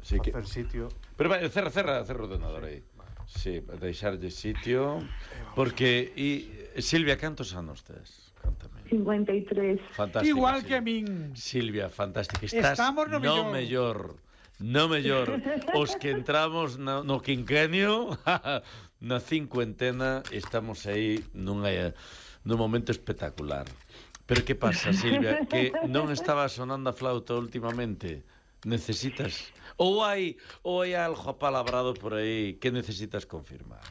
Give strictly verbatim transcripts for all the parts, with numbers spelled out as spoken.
Sí, que... facer sitio. Pero vai, cerra, cerra, cerra o ordenador aí. Sí, deixarlle sitio. Porque, e Silvia, cantos anos tes? Cántame. cincuenta y tres. Fantástico. Igual Silvia. que a min. Silvia, fantástico. Estás Estamos no no mellor. mellor. No mellor. Os que entramos no, no quinquenio, na cincuentena, estamos aí nunha, nun momento espectacular. Pero que pasa, Silvia? Que non estaba sonando a flauta últimamente. Necesitas... Ou hai, ou hai algo apalabrado por aí que necesitas confirmar?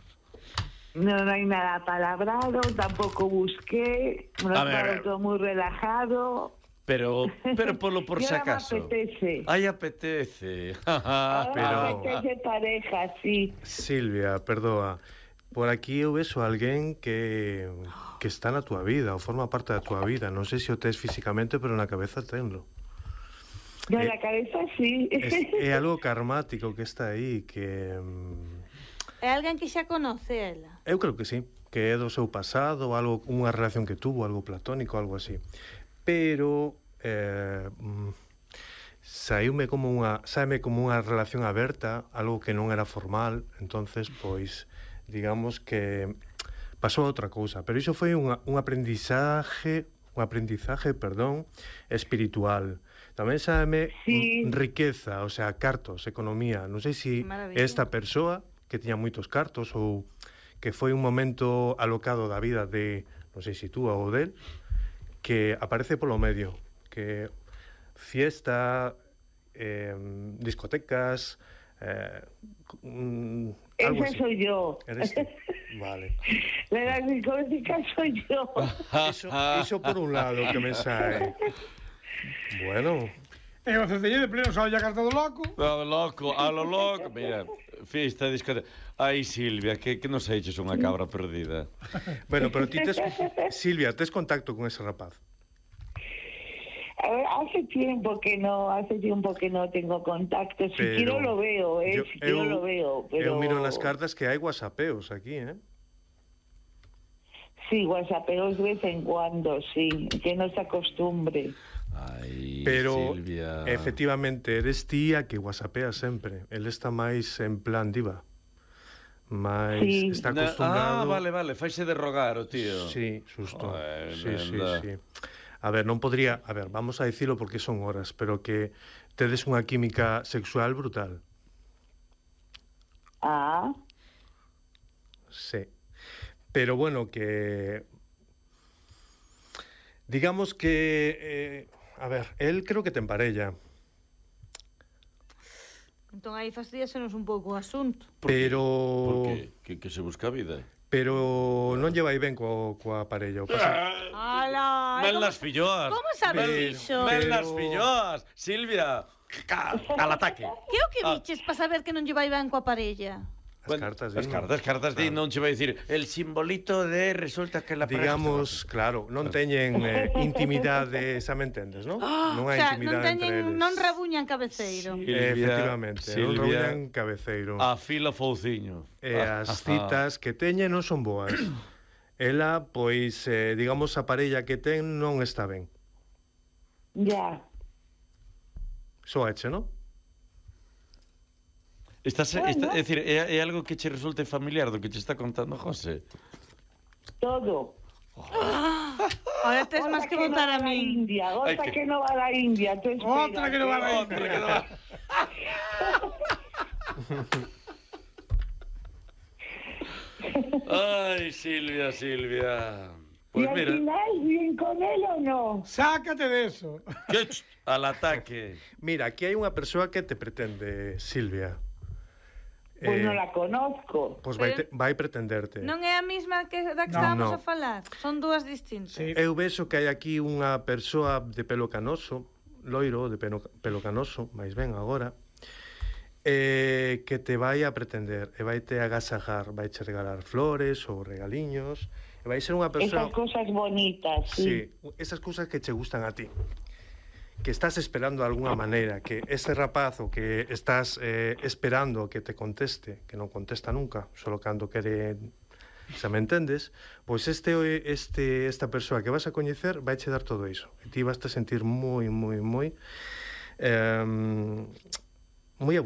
No, no hay nada palabrado, tampoco busqué, me lo A ver, estaba todo muy relajado. Pero, pero polo por Y si ahora me acaso. apetece. Ay, apetece. Ahora pero- me apetece pareja, sí. Silvia, perdoa. Por aquí eu vexo a alguén que que está na túa vida, ou forma parte da túa vida. Non sei se o tes físicamente, pero na cabeza tenlo. De Eh, la cabeza, sí. Es, é algo karmático que está aí, que... mm, É alguén que xa conoce ela. Eu creo que sí, que é do seu pasado, algo, unha relación que tuvo, algo platónico, algo así. Pero eh, mm, saíume como unha, saime como unha relación aberta, algo que non era formal, entonces pois digamos que pasou outra cousa, pero iso foi unha, un aprendizaje, un aprendizaje, perdón, espiritual. Tamén saime Sí. mm, riqueza, o sea, cartos, economía. Non sei se Maravilla. esta persoa que tiña moitos cartos ou que foi un momento alocado da vida de, non sei se tú ou del, que aparece polo medio, que fiesta, eh, discotecas, eh, mm, algo Esa así. soy yo. Eres tú. Vale. La de la discoteca soy yo. Iso, iso por un lado que me sae. Bueno, E o Cecilio de pleno sale a carta do loco. A lo loco, a lo loco. Mira, fiesta, discoteca. Ai, Silvia, que, que nos eches unha cabra perdida. bueno, pero ti tes, Silvia, tes contacto con ese rapaz? A ver, hace tiempo que no, hace tiempo que no tengo contacto. Si Pero quiero lo veo, eh, yo- si quiero eu- lo veo, pero... Eu miro nas cartas que hai whatsappeos aquí, eh? Sí, whatsappeos de vez en cuando, sí, que no se acostumbre. Ai, Pero Silvia. efectivamente eres tía que whatsappea sempre. El está máis en plan diva. Mais Sí. está Na- acostumbrado. Ah, vale, vale, faise de rogar o tío. Sí, susto. Joder, sí, sí, nenda. sí. A ver, non podría, a ver, vamos a dicilo porque son horas, pero que tedes unha química sexual brutal. Ah, Sí. Pero bueno, que digamos que eh, a ver, él creo que te emparella, Entón aí fastidiasenos un pouco o asunto. pero Por que? Que, que se busca vida. pero non lle vai ben co, coa parella. O pasa, Ala, Mel como, las filloas. como sabes Pero- iso? Mel pero- las filloas. Silvia, ca- al ataque. Que o que Ah. biches para saber que non lle vai ben coa parella? as Bueno, cartas, as din, cartas, cartas di, non che vai dicir el simbolito de resulta que la pareja digamos, claro, non teñen eh, intimidade, xa me entendes, non? Non O hai sea, non intimidade entre teñen, eles. non rabuñan cabeceiro. Sí. Eh, Silvia, efectivamente, non Silvia, rouñan cabeceiro. afila fouciño. E as citas que teñen non son boas. Ela, pois, eh, digamos, a parella que ten non está ben. ya. Soache, non? Estás, Bueno. está, é dicir, é, é algo que che resulte familiar do que che está contando José. Todo. Ahora tes máis que no votar va a la min. India, Ay, otra que- que no va a la India. Tú Otra que no va a la espérate. Outra que non va- Ai, Silvia, Silvia. ¿Y Pues al mira, final bien con él o no? Sácate de eso. que ch- al ataque. Mira, aquí hai unha persoa que te pretende, Silvia. Pues Eh, no la conozco. Pois vai, te, vai pretenderte. Non é a mesma que da que No, estábamos no. a falar. Son dúas distintas. Sí. Eu vexo que hai aquí unha persoa de pelo canoso, loiro, de pelo, pelo canoso, máis ben agora, eh, que te vai a pretender, e vai te agasajar, vai che regalar flores ou regaliños, e vai ser unha persoa... Esas cosas bonitas, sí. Sí, esas cousas que che gustan a ti, que estás esperando de alguna maneira, que ese rapazo que estás eh, esperando que te conteste, que non contesta nunca, solo cando quere, xa me entendes, pois este este esta persoa que vas a coñecer vai che dar todo iso, e ti vas te sentir moi, moi, moi eh, moi abundante.